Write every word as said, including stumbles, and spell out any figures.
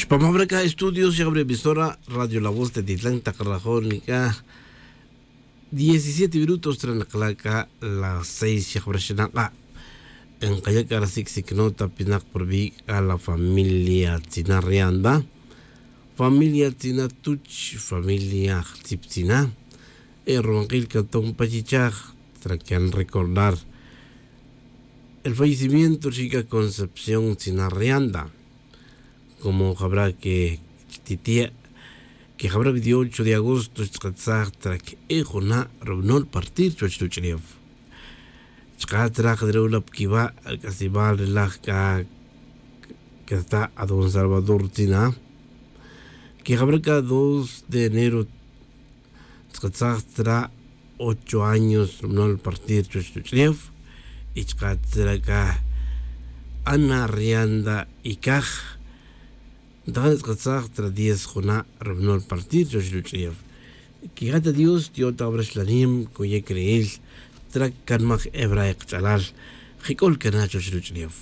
Pa mabra c'a estudios xakabra emisora radio la voz te titlan tak rajon c'a diecisiete minutos tra nakla' c'a las seis xakabra xanak'a'. Nkaya' c'a rasic' sic nota pinak purbi' c'a la familia tzina rianda, familia tzina tuch, familia jtzip tzina. E ruwankil c'a ton pa chichaj tra can recordar el fallecimiento rixin c'a concepción tzina rianda. Como jabra que chtitie' que jabra veintiocho de agosto xtz'atsaj tra que e juna' rubanol partir chuwech ruch'ulef. Chka' tra jadrewla pquiba' ac'asibal relaj c'a cata' adon salvador tzina. Que jabra c'a dos de enero tzkatzaj tzra' ocho años rubanol partir chuwech ruch'ulef. Y chka' tzra' c'a ana rianda y caj ntajana tzkatzaj tzra' diez juna' rubanol partir chuwech ruch'ulef. Quija' ta dios tiyo'on ta jabra xlanim coye' cre'el tzra' canmaj ebra e kach'alal. Jic'ol cana chuwech ruch'ulef.